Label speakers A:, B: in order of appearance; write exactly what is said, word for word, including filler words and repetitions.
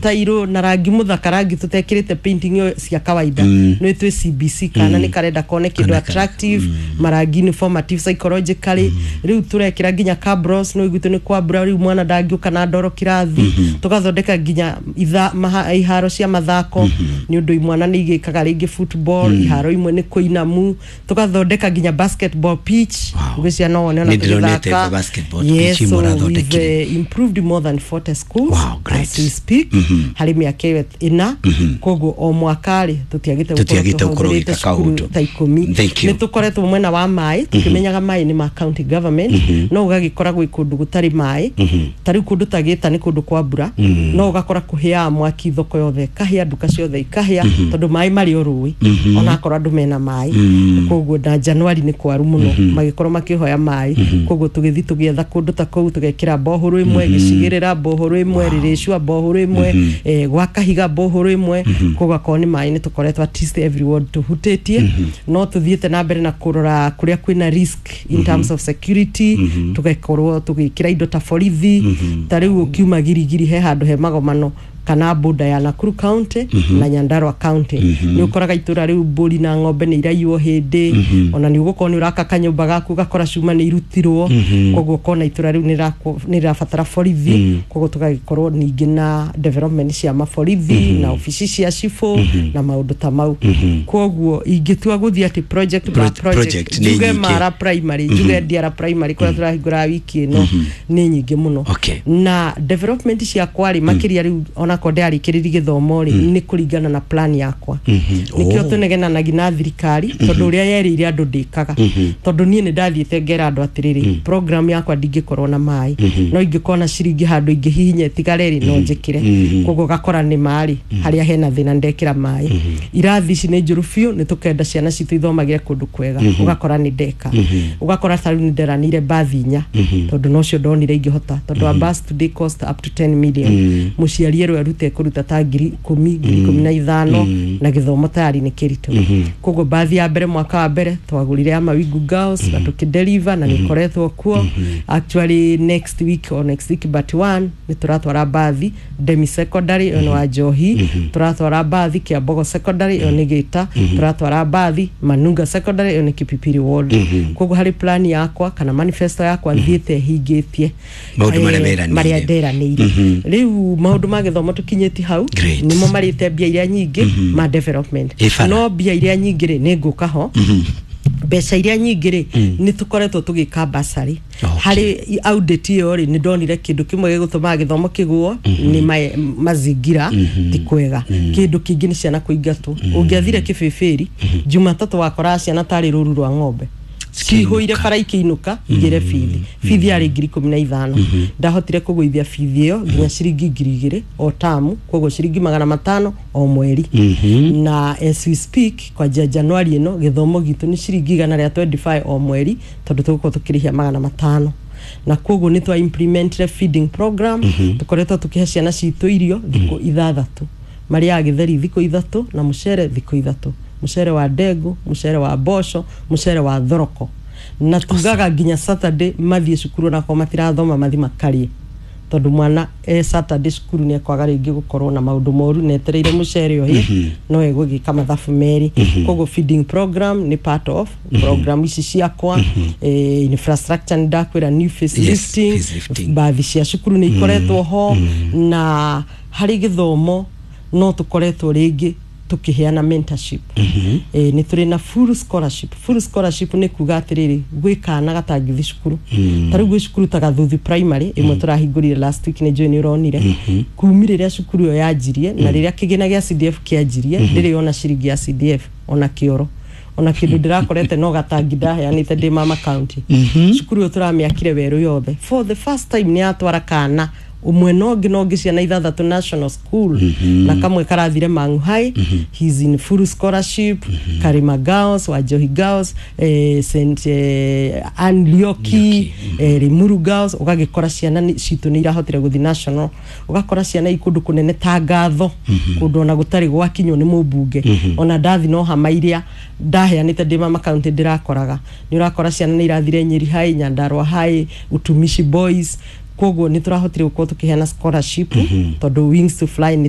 A: Tairũ na rangi mũthaka, rangi tũtekĩrĩte painting ĩyo cia kawaida, nĩ twĩ C B C kana nĩ karenda kone kĩndũ
B: Kana ka-
A: attractive, marangi nĩ formative psychologically. Rĩu tũrekĩra nginya cabros, no iguitũ nĩ kwa mbura, rĩu mwana ndangĩũka na ndoro kĩrathi. Tũgathondeka nginya itha, maha, iharo cia mathako, nĩ ũndũ imwana nĩ igĩkaga rĩngĩ football, iharo imwe nĩ kũinamu. Tũgathondeka nginya basketball pitch.
B: Wow.
A: Gwĩ ciana wone ona
B: Nĩ ndĩronete
A: tũgĩthaka.
B: Basketball
A: Yes,
B: pitch imwe
A: so
B: ũrathondekire.
A: we've uh, improved more than forty schools
B: Wow, great.
A: as we speak harĩ mĩaka ĩyo ĩna. Koguo o mwaka rĩ, tũtiagĩte
B: Tũtiagĩte gũkorwo
A: tũhũthĩrĩte
B: ũgĩka
A: cukuru
B: kaũndũ.
A: ta ikũmi.
B: Thank you.
A: Nĩ tũkoretwo mwena wa maĩ, tũkĩmenyaga maĩ nĩ ma county government, no ũgagĩkora gwĩ kũndũ gũtarĩ maĩ. Ta rĩu kũndũ ta Gĩta nĩ kũndũ kwa mbura, no ũgakora kũhĩaga mwaki, thoko yothe ĩkahĩa, nduka ciothe ikahĩa, tondũ maĩ marĩ o rũĩ, onakorwo andũ mena maĩ. Koguo na Januari nĩ kwaru mũno, magĩkorwo makĩhoya maĩ. Koguo tũgĩthiĩ tũgĩetha kũndũ ta kũu, tũgekĩra bohoro ĩmwe gĩcigĩrĩra, bohoro ĩmwe rĩrĩcua, bohoro ĩmwe eh, gwa Kahiga, bohoro ĩmwe. Koguo akorwo nĩ maĩ, nĩ tũkoretwo at least every ward tũhutĩtie. No tũthiĩte na mbere na kũrora kũrĩa kwĩna risk in terms of security, tũgakorwo tũgĩkĩra indo ta borithi. Ta rĩu ũkiuma Girigiri, he handũ he magomano kana boda ya Nakuru County na Nyandarua County, nĩ ũkoraga itũra rĩu mbũri na ng'ombe nĩ iraiywo hĩndĩ ona nĩ ũgũkorwo nĩ ũraka kanyũmba gaku, ũgakora cuma nĩ irutirwo. Koguo ũkona itũra rĩu nĩ rĩrakwo- nĩ rĩrabatara borithi. Koguo tũgagĩkorwo ningĩ na development cia maborithi na obici cia cibũ na maũndũ ta mau. Koguo ingĩtua gũthiĩ atĩ project by
B: Pro-
A: project,
B: project nĩ
A: njuge
B: nyingĩ.
A: Mara Primary, njuge Ndiara Primary kũrĩa tũrahingũra wiki ĩno, nĩ nyingĩ mũno.
B: Okay.
A: Na development ciakwa rĩ, makĩria rĩu onakorwo ndĩarĩkĩrĩri gĩthomo rĩ, nĩ kũringana na plan yakwa. Nĩkĩo
B: Oh.
A: tũnegenanagia na thirikari, tondũ ũrĩa yerĩire andũ ndĩkaga, tondũ niĩ nĩ ndathiĩte ngera andũ atĩrĩrĩ, program yakwa ndingĩkorwo na maĩ, no ingĩkorwo na ciringi handũ ingĩhihinya ĩtigare rĩ, no njĩkĩre. Koguo ũgakora nĩ marĩ harĩa hena thĩna ndekĩra maĩ. Irathi ici nĩ njũru biũ, nĩ tũkenda ciana citũ ithomagĩre kũndũ kwega, ũgakora nĩ ndeka. Ũgakora ta rĩu nĩ nderanĩire bathi inya, tondũ nocio ndonire ingĩhota, tondũ a bus today cost up to ten million. Mũciari erwo arute kũruta ta ngiri ikũmi, ngiri ikũmi na ithano, na gĩthomo tayari nĩ kĩritũ. Koguo bathi ya mbere, mwaka wa mbere twagũrire ya Mawingu Girls na tũkĩdeliver na nĩ ĩkoretwo kuo. Actually, next week or next week but one nĩ tũratwara bathi Demi Secondary, ĩyo nĩ wa Njohi, tũratwara bathi Kiambogo Secondary, ĩyo nĩ Gĩta, tũratwara bathi Manunga Secondary, ĩyo nĩ Kipipiri Ward. Koguo harĩ plan yakwa kana manifesto yakwa thiĩte hingĩtie
B: Maũndũ marĩa
A: eh,
B: weranĩire.
A: Marĩa nderanĩire. Rĩu maũndũ ma gĩthomo tũkinyĩti hau.
B: Great.
A: Nĩmo marĩte mbia iria nyingĩ ma development.
B: Ĩ bara.
A: No mbia iria nyingĩ rĩ, nĩ ngũka ho. Mbeca iria nyingĩ rĩ, nĩ tũkoretwo tũgĩka basarĩ.
B: Okay.
A: Harĩ audit ĩyo rĩ, nĩ ndonire kĩndũ kĩmwe gĩgũtũmaga gĩthomo kĩgũo nĩ ma- mazingira ti kwega. Kĩndũ kĩngĩ nĩ ciana kũingatwo. Ũngĩathire Kĩbĩbĩri Jumatatũ, wakoraga ciana tarĩ rũru rwa ng'ombe cihũire bara ikĩinũka igĩre bithi. Bithi yarĩ ngiri ikũmi na ithano. Ndahotire kũgũithia bithi ĩyo nginya ciringi ngiri igĩrĩ o tamu, koguo ciringi magana matano o mweri. Na as we speak, kwanjia Januari ĩno, gĩthomo gitũ nĩ ciringi igana rĩa mĩrongo ĩrĩ na ithano o mweri, tondũ tũgũkorwo tũkĩrĩhia magana matano. Na koguo nĩ twa implementire feeding program. Tũkoretwo tũkĩhe ciana citũ irio thikũ ithathatũ, marĩaga gĩtheri thikũ ithatũ na mũcere thikũ ithatũ, mũcere wa ndengũ, mũcere wa mboco, mũcere wa thoroko. Na tugaga nginya Saturday mathiĩ cukuru, onakorwo matirathoma, mathi makarĩe, tondũ mwana e Saturday cukuru nĩ ekwaga rĩngĩ gũkorwo na maũndũ moru na etereire mũcere ũhĩe, no egũgĩka mathabu merĩ. Koguo feeding program nĩ part of program ici ciakwa. eh, infrastructure nĩ ndakwĩra, new facelifting,
B: facelifting.
A: Bathi cia cukuru nĩ ikoretwo ho. Na harĩ gĩthomo no tũkoretwo rĩngĩ tũkĩheana mentorship. eh, nĩ tũrĩ na full scholarship. Full scholarship nĩ kuga atĩrĩrĩ, gwĩ kana gatangĩthiĩ cukuru. Ta rĩu gwĩ cukuru ta Gathuthi Primary ĩmwe tũrahingũrire last week, nĩ njũĩ nĩ ũronire. Kumi rĩrĩa cukuru ĩyo yanjirie na rĩrĩa kĩgĩna gĩa C D F kĩanjirie, ndĩrĩ ona ciringi ya C D F ona kĩoro ona kĩndũ ndĩrakorete, no gatangi ndaheanĩte ndĩ mama county. Cukuru ĩyo tũramĩakire werũ yothe. For the first time nĩ yatwara kana ũmwe na ũngĩ na ũngĩ, ciana ithathatũ national school, na kamwe karathire Mangu High, he's in full scholarship, Karima Girls, Wajohi Girls, eh, Saint eh, Ann Lioki, eh, Limuru Girls. Ũgagĩkora ciana nĩ- citũ nĩ irahotire gũthiĩ national. Ũgakora ciana i kũndũ kũnene ta Ngatho, kũndũ ona gũtarĩ gwakinywo nĩ mũmbunge, ona ndathi no hama iria ndaheanĩte ndĩ mama county ndĩrakoraga. Nĩ ũrakora ciana nĩ irathire Nyeri High, Nyandarua High, Utumishi Boys. Koguo nĩ tũrahotire gũkorwo tũkĩheana scholarship, tondũ Wings to Fly nĩ